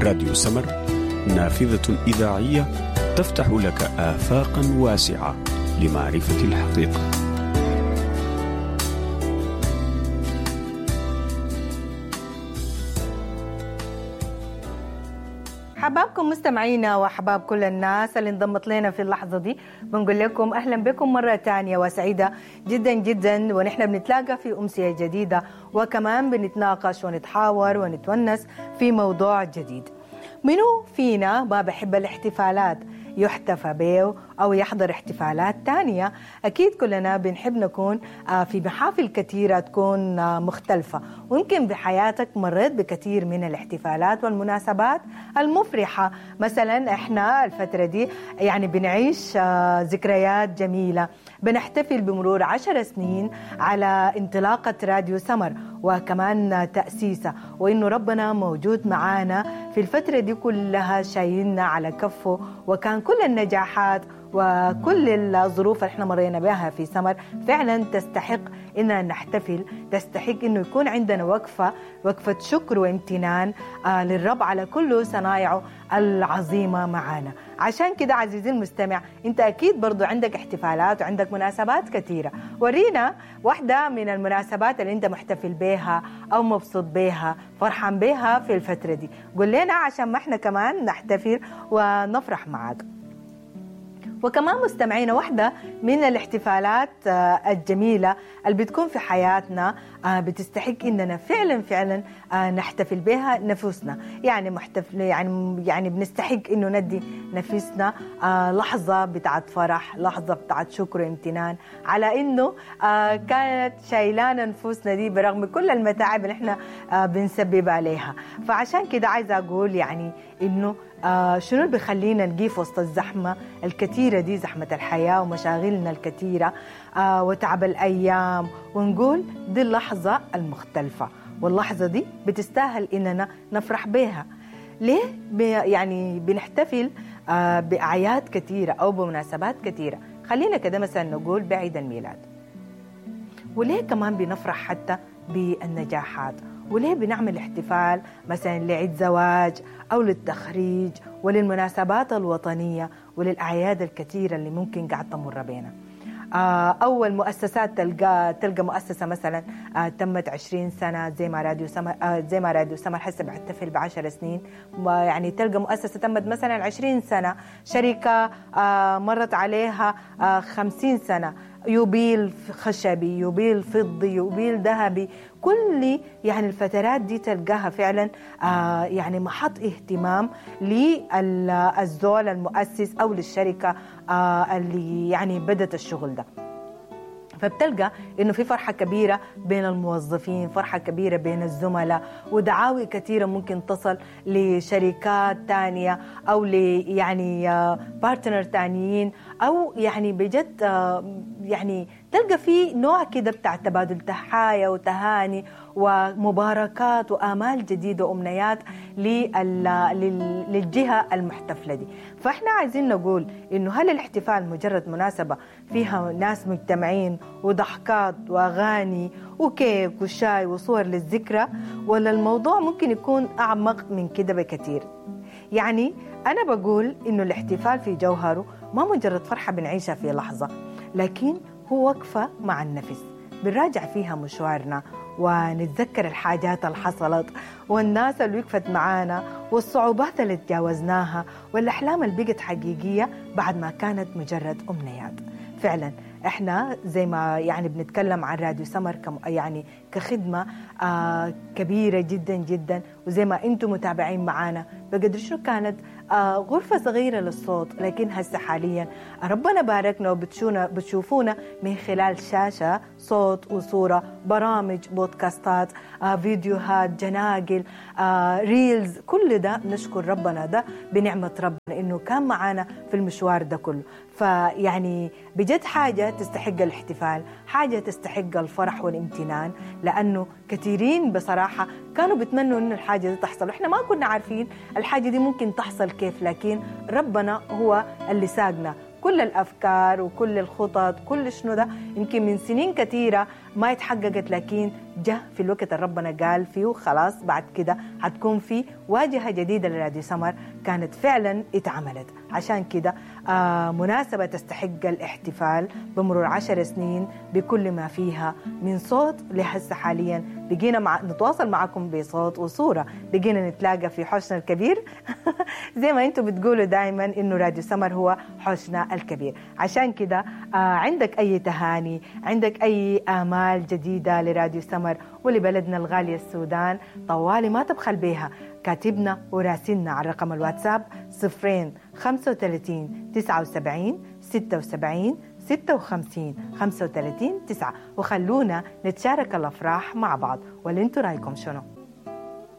راديو سمر، نافذة إذاعية تفتح لك آفاقا واسعة لمعرفة الحقيقة. حبابكم مستمعينا وحباب كل الناس اللي انضمت لنا في اللحظة دي، بنقول لكم أهلا بكم مرة تانية وسعيدة جدا جدا، ونحن بنتلاقى في أمسية جديدة وكمان بنتناقش ونتحاور ونتونس في موضوع جديد. منو فينا ما بحب الاحتفالات يحتفى به أو يحضر احتفالات تانية؟ أكيد كلنا بنحب نكون في محافل كثيرة تكون مختلفة، ويمكن بحياتك مريت بكثير من الاحتفالات والمناسبات المفرحة. مثلا إحنا الفترة دي يعني بنعيش ذكريات جميلة، بنحتفل بمرور 10 سنين على انطلاقة راديو سمر وكمان تأسيسه، وإنه ربنا موجود معانا في الفترة دي كلها، شايلنا على كفه، وكان كل النجاحات وكل الظروف اللي احنا مرينا بها في سمر فعلا تستحق اننا نحتفل، تستحق انه يكون عندنا وقفة شكر وامتنان للرب على كل صنايعه العظيمة معانا. عشان كده عزيزي المستمع، انت اكيد برضو عندك احتفالات وعندك مناسبات كثيرة. ورينا واحدة من المناسبات اللي انت محتفل بيها او مبسوط بيها، فرحان بيها في الفترة دي، قول لنا عشان ما احنا كمان نحتفل ونفرح معاك. وكمان مستمعينا، واحدة من الاحتفالات الجميلة اللي بتكون في حياتنا بتستحق إننا فعلا فعلا نحتفل بها نفوسنا، يعني محتفل يعني بنستحق إنه ندي نفسنا لحظة بتاعت فرح، لحظة بتاعت شكر وامتنان على إنه كانت شايلانا نفوسنا دي برغم كل المتاعب اللي إحنا بنسبب عليها. فعشان كده عايزة أقول يعني إنه شنو اللي بيخلينا نقيف وسط الزحمة الكثيرة دي، زحمة الحياة ومشاغلنا الكثيرة وتعب الأيام، ونقول دي اللحظة المختلفة، واللحظة دي بتستاهل إننا نفرح بيها. ليه يعني بنحتفل بأعياد كثيرة أو بمناسبات كثيرة؟ خلينا كده مثلا نقول بعيد الميلاد، وليه كمان بنفرح حتى بالنجاحات؟ وليه بنعمل احتفال مثلا لعيد زواج أو للتخريج وللمناسبات الوطنية وللأعياد الكثيرة اللي ممكن قاعد تمر بينا؟ أول مؤسسات تلقى مؤسسة مثلا تمت 20 سنة زي ما راديو سمر، زي ما راديو سمر حسب بحتفل ب10 سنين، يعني تلقى مؤسسة تمت مثلا 20 سنة، شركة مرت عليها 50 سنة، يوبيل خشبي، يوبيل فضي، يوبيل ذهبي، كل يعني الفترات دي تلقاها فعلا يعني محط اهتمام للزول المؤسس أو للشركة اللي يعني بدت الشغل ده. فبتلقى إنه في فرحة كبيرة بين الموظفين، فرحة كبيرة بين الزملاء، ودعاوي كثيرة ممكن تصل لشركات تانية أو يعني بارتنر تانيين، أو يعني بجد يعني تلقى في نوع كده بتاع تبادل تحايا وتهاني ومباركات وآمال جديدة وأمنيات للجهة المحتفلة دي. فإحنا عايزين نقول إنه هل الاحتفال مجرد مناسبة فيها ناس مجتمعين وضحكات وأغاني وكيك وشاي وصور للذكرى، ولا الموضوع ممكن يكون أعمق من كده بكثير؟ يعني أنا بقول إنه الاحتفال في جوهره ما مجرد فرحة بنعيشها في لحظة، لكن هو وقفة مع النفس بنراجع فيها مشوارنا ونتذكر الحاجات اللي حصلت والناس اللي وقفت معانا والصعوبات اللي تجاوزناها والأحلام اللي بقت حقيقية بعد ما كانت مجرد أمنيات. فعلا احنا زي ما يعني بنتكلم عن راديو سمر يعني كخدمة كبيرة جدا جدا، وزي ما انتم متابعين معانا بقدر شو كانت غرفة صغيرة للصوت، لكن هسه حاليا ربنا باركنا وبتشوفونا من خلال شاشة، صوت وصورة، برامج، بودكاستات، فيديوهات، جناقل، reels، كل ده نشكر ربنا ده بنعمة ربنا إنه كان معانا في المشوار ده كله. فيعني بجد حاجة تستحق الاحتفال، حاجة تستحق الفرح والامتنان، لأنه كثيرين بصراحة كانوا بيتمنوا إنه الحاجة دي تحصل، وإحنا ما كنا عارفين الحاجة دي ممكن تحصل كيف، لكن ربنا هو اللي ساقنا كل الأفكار وكل الخطط، كل شنو ده يمكن من سنين كثيرة ما اتحققت، لكن جاء في الوقت اللي ربنا قال فيه خلاص بعد كده هتكون في واجهة جديدة لراديو سمر، كانت فعلا اتعملت. عشان كده مناسبة تستحق الاحتفال بمرور 10 سنين بكل ما فيها من صوت. لهسه حاليا بقينا نتواصل معكم بصوت وصورة، بقينا نتلاقى في حوشنا الكبير زي ما انتم بتقولوا دايما انه راديو سمر هو حوشنا الكبير. عشان كده عندك اي تهاني، عندك اي آمال جديدة لراديو سمر ولبلدنا الغالية السودان، طوالي ما تبخل بيها، كاتبنا وراسلنا على رقم الواتساب 0 35 79 76 56 35 9، وخلونا نتشارك الأفراح مع بعض. واللي انتوا رايكم شنو؟